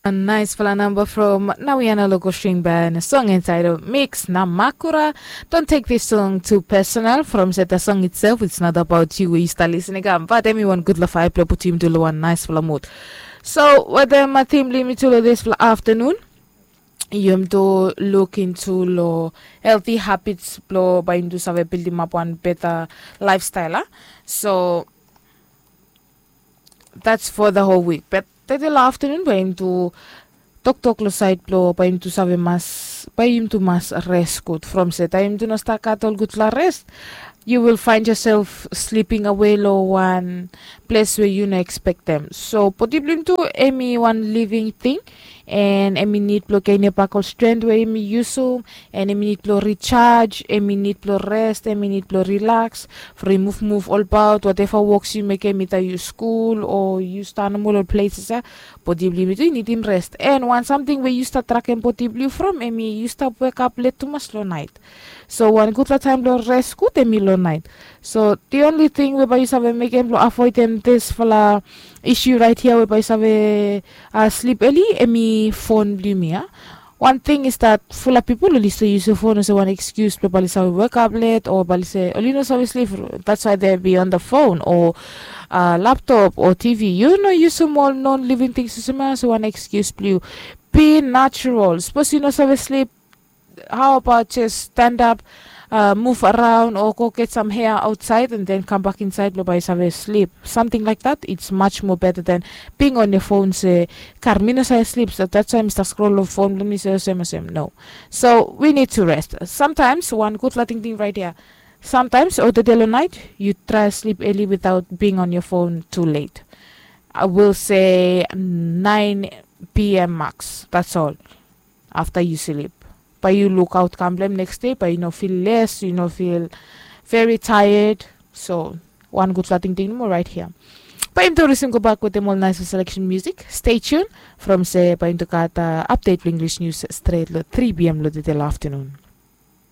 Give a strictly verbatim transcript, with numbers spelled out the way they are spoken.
A nice fala namba from Nawiana Logo String Band, a song entitled Mix Namakura. Don't take this song too personal from se the song itself, it's not about you wey yu stap listening am, but emi wan gudfala faya blong putum yumi tu long wan nice fala mood. So wetem a tim blong yumi tu long this fala afternoon, yumi tu look into long healthy habits blong bae yumi tu save building up wan better lifestyle, ah. So that's for the whole week. But tede long afternoon bae yumi tu toktok long side blong bae yumi tu save mas, bae yumi tu mas rest gud from se taem yumi tu no stap gat ol gudfala rest, you will find yourself sleeping away long wan ples we yu no expectem. So bodi blong yumi tu emi wan living thing, and emi nid blong genem bak ol strength we emi yusum, and emi nid blong recharge, emi nid blong rest, emi nid blong relax, from yu muvmuv olbaot, whatever works yu mekem, yu skul o yu stap long ol places ya, bodi blong yumi tu i nidim rest. And wan samting we yu stap trakem bodi blong yu from emi yu stap wekap let tumas long naet. So wan gudfala taem blong rest gud emi long naet. So the only thing we bae yu save mekem blong avoidem this fala issue right here we bae yu save uh, sleep early emi phone blong yumi ya. One thing is that fula pipol oli stap yusum phone olsem wan excuse blong bae oli save wekap let o bae oli se oli no save sleep. That's why they be on the phone o uh, laptop o T V. Yu no yusum ol non living things olsem ya olsem wan excuse blong yu. Be natural. Suppose yu no save sleep, how about just stand up, uh, move around or go get some air outside and then come back inside blong bae yu save sleep. Something like that, it's much more better than being on your phone se, kar mi no save sleep, so that's why mi stap scroll long phone blong mi se olsem olsem. No. So we need to rest sometimes. Wan gudfala tingting right here. Sometimes o tede long naet yu try sleep early without being on your phone too late. I will say nine p.m. max, that's all. Afta yu slip, bae yu lukaot kam blong hem next day, bae yu no feel less, yu no feel very tired. So wan gudfala tingting nomo right here. Bae yumi tu risim gobak wetem ol nice selection music. Stay tuned from se bae yumi tu gat uh, update blong English news stret long three p.m. long tede long afternoon.